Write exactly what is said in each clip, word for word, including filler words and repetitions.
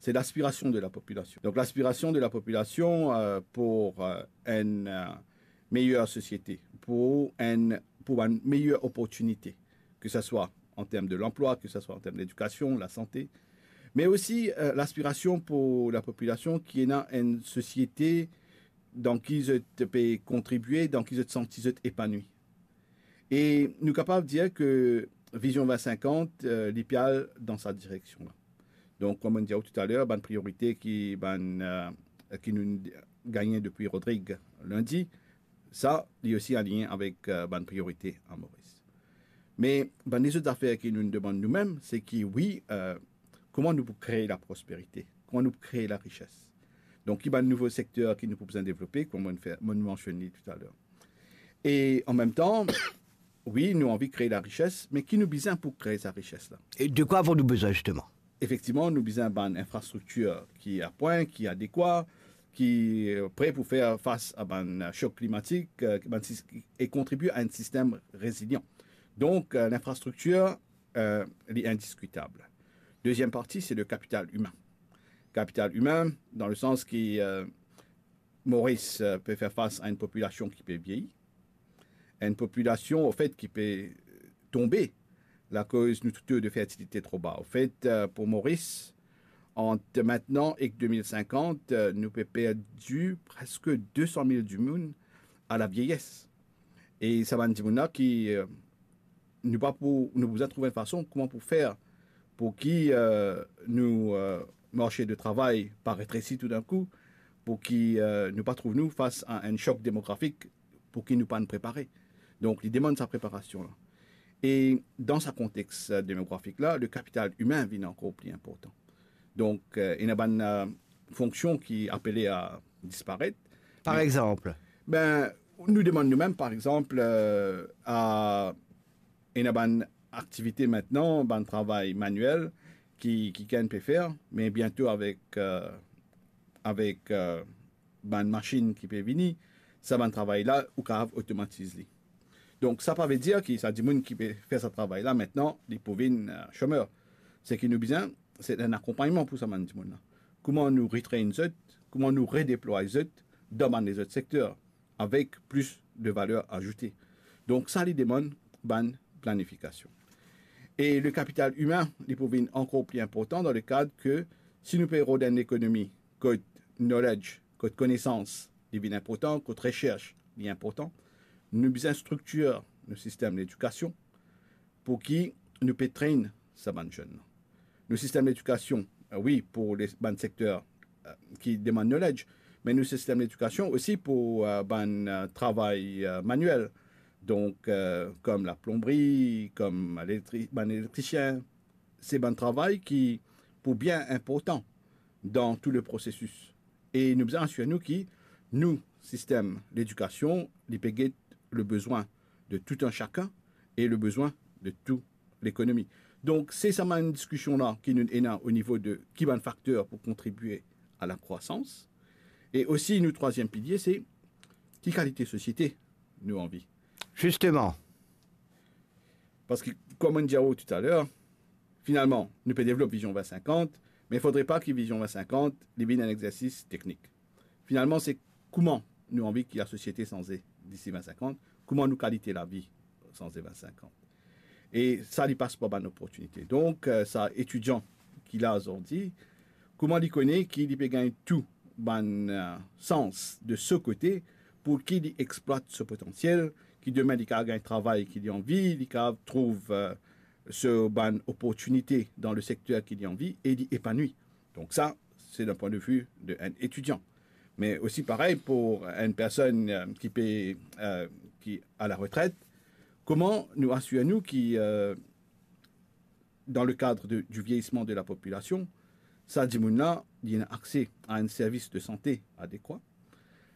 c'est l'aspiration de la population. Donc, l'aspiration de la population, euh, pour, euh, une, euh, meilleure société, pour une, pour une meilleure opportunité, que ce soit en termes de l'emploi, que ce soit en termes d'éducation, la santé, mais aussi, euh, l'aspiration pour la population ki ena une société dan ki zot pe kontribie, dan ki zot santi zot epanwi. E nou kapav dir ke Vision vingt cinquante, euh, li pe al dan sa direksion la. Donk, kouma mo dir ou toutaler, bann priorite ki bann, euh, ki nou gagne depi Rodrig lindi, sa, li osi aligne avek, euh, bann priorite a Moris. Me bann lezot zafer ki nou demann noumem, se ki, wi, euh, kouma nou pou kree laprosperite, kouma nou pou kree larises. Donk, ki bann nouvo sekter ki nou pou bizin devlope, kouma mo fer, mo mansionn li toutaler. E an mem tan, wi, nou anvi kree larises, me ki nou bizin pou kree sa rises la? E de kwa avons-nous besoin, justement? Efektivman, nou bizin bann infrastriktir ki a pwin, ki adekwa, ki, euh, pre pou fer fas a bann, euh, sok klimatik, euh, bann sis-, e kontribie a enn sistem rezilian. Donk, euh, linfrastriktir, euh, li indiskitab. Deziem parti, se le kapital imin. Kapital imin, dan le sans ki, euh, Moris, euh, pe fer fas a enn popilasion ki pe vieyir, enn popilasion, anfet, ki pe, euh, tonbe, lakoz nou to de fertilite tro ba. Anfet, euh, pou Moris, ant mintnan ek de mil sinkant, euh, nou pe perdi preske de san mil dimoun a lavieyes. E sa bann dimoun la ki, euh, nou pa pou, nou bizin trouv enn fason kouma pou fer pou ki, euh, nou, euh, marse de travay pa retresi toudinkou, pou ki, euh, nou pa trouv nou fas a enn sok demografik pou ki nou pa'nn prepare. Donk, li demann sa preparasion la. E dan sa kontex, euh, demografik la, le kapital imin vinn ankor pli inportan. Donk, euh, ena bann, euh, fonksion ki apele a disparet. Par exanp? Be, nou demann noumem, par exanp, euh, a ena bann aktivite mintnan, bann travay maniel ki, ki kikenn pe fer, me biento avek, euh, avek, euh, bann masinn ki pe vini, sa bann travay la, ou kapav otomatiz li. Donk, sa pa ve dir ki sa dimoun ki pe fer sa travay la, mintnan, li pou vinn, euh, somer. Seki nou bizin, se enn akonpagnman pou sa bann dimoun la. Kouma nou retrain zot, kouma nou redeplway zot dan bann lezot sekter, avek plis de valer azoute. Donk, sa li demann bann planifikasion. E le kapital imin, li pou vinn ankor pli inportan dan le kad ke si nou pe rod enn lekonomi kot knowledge, kot konesans, li vinn inportan, kot reserch, li inportan, nou bizin striktir nou sistem ledikasion pou ki nou pe train sa bann zenn. Nou sistem ledikasion, euh, wi, pou le, bann sekter, euh, ki demann knowledge, me nou sistem ledikasion osi pou, euh, bann, euh, travay, euh, maniel. Donk, euh, kom laplonbri, kom elektri-, bann elektrisien, se bann travay ki pou bien inportan dan tou le prosesis. E nou bizin asir nou ki nou sistem ledikasion, li pe get le bezwin de tou enn sakenn e le bezwin de tou lekonomi. Donk, se sa bann diskision la ki nou ena o nivo de ki bann fakter pou kontribie a lakrwasans. E osi, nou trwaziem pilie, se ki kalite sosiete nou anvi. Zisteman. Parski, kouma mo dir ou toutaler, finalman, nou pe devlop Vision vingt cinquante, me fodre pa ki Vision vingt cinquante, li vinn enn exersis teknik. Finalman, se kouma nou anvi ki lasosiete sanze disi vingt cinquante, kouma nou kalite lavi sanze vingt cinquante. E sa, li pas par bann loportinite. Donk, euh, sa etidian ki la zordi, kouma li kone ki li pe gagn tou bann, euh, sans de so kote pou ki li explwat so potansiel, ki demin li kapav gagn travay ki li anvi, li kapav trouv, euh, so bann loportinite dan le sekter ki li anvi e li epanwi. Donk sa, se dan pwin de vi de enn etidian. Me osi parey pou enn personn, euh, ki pe, euh, ki a la retret, kouma nou asir nou ki, euh, dan le kad de, du vieyisman de lapopilasion, sa dimoun la, li ena akse a enn servis de sante adekwa,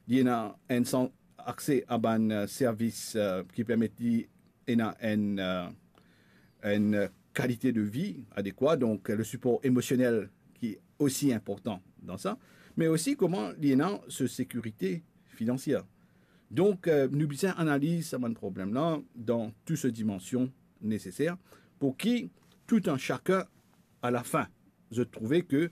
li ena enn san-, akse a bann, euh, servis, euh, ki permet li ena enn, euh, enn kalite de vi adekwa, donk le sipor emosionel ki osi inportan dan sa, me osi kouma li ena so sekirite finansier. Donk, euh, nou bizin analiz sa bann problem la dan tou so dimansion neseser pou ki tou enn sakenn, a lafin, zot trouve ke